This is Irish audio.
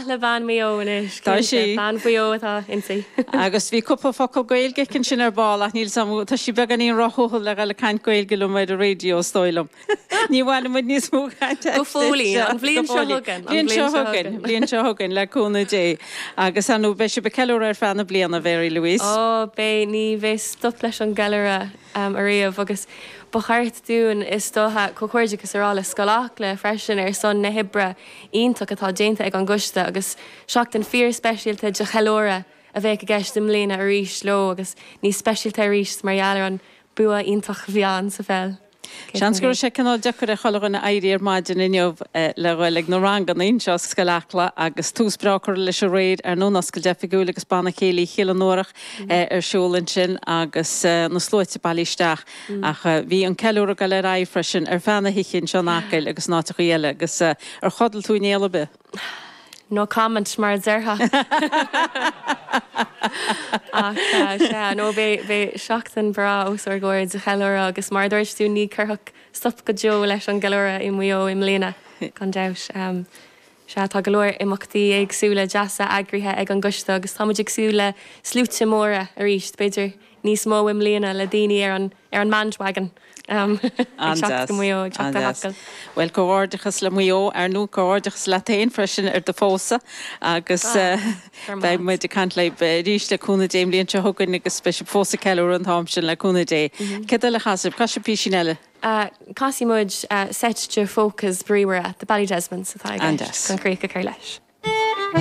maith le bean Mhaigh Eo anois, Tá cinnte. sí. Bean Mhaigh Eo atá inti. Agus bhí cúpla focal Gaeilge aici ansin ar ball ach níl 's agam, tá sí beagáinín róthuathail le dhul ag caint Gaeilge liom ar an raidió is dóigh liom. Ní bhainfidh muid níos mó cainte Go fóillín, an bhliain seo chugainn, an bhliain seo chugainn, bliain seo chugainn, le cúnamh Dé. Agus ar ndóigh, beidh sibh ag ceiliúradh ar feadh na bliana, Mary Louise. Ó, beidh, ní bheidh stop leis an gceiliúradh ariamh agus ba cheart dúinn, is dócha, comhghairdeachas a rá le Scoil Acla freisin ar son na hoibre iontach atá déanta ag an gcoiste agus seachtain fíor-speisialta de cheiliúradh a bheadh i gceist i mbliana arís leo agus níos speisialta arís mar gheall ar an bua iontach a bhí ann sa pheil. Seans go raibh sé cineál deacair ar chuile dhuine éirí ar maidin inniu le dhul ag na ranganna anseo sa Scoil Acla agus tús breá curtha leis aréir ar ndóigh an oscailt oifigiúil agus Banna Céilí Chill an Uarach ar siúl ansin agus na sluaite bailithe isteach ach bhí an ceiliúradh ag dul ar aghaidh freisin ar feadh na hoíche anseo in Acaill agus in áiteachaí eile agus ar chodail tú in néal ar bith? No comment, mar a déarfá. Ach sea, no, beidh seachtain bhreá os ár gcomhair de cheiliúradh agus mar a dúirt tú, ní cuirfeadh stop go deo leis an gceiliúradh i Maigh Eo i mbliana, gan dabht. Sea, tá go leor imeachtaí éagsúla deasa eagraithe ag an gcoiste agus tá muid ag súil le sluaite móra arís, b'fhéidir níos mó i mbliana le daoine ar an ar an mbandwagon ag teacht go Maigh Eo, ag teacht go hAcaill. Bhuel, comhghairdeachas le Maigh Eo, ar ndóigh, comhghairdeachas leat féin freisin ar do phósadh agus beidh muid ag caint libh arís le cúnamh Dé an bhliain seo chugainn agus beidh sibh fós ag ceiliúradh an t-am sin le cúnamh Dé. Céard eile a chasfaidh sibh? Casfaidh sibh písín eile? Casfaidh muid seit de pholcas bríomhara, The Ballydesmonds atá i gceist chun críoch a chur leis.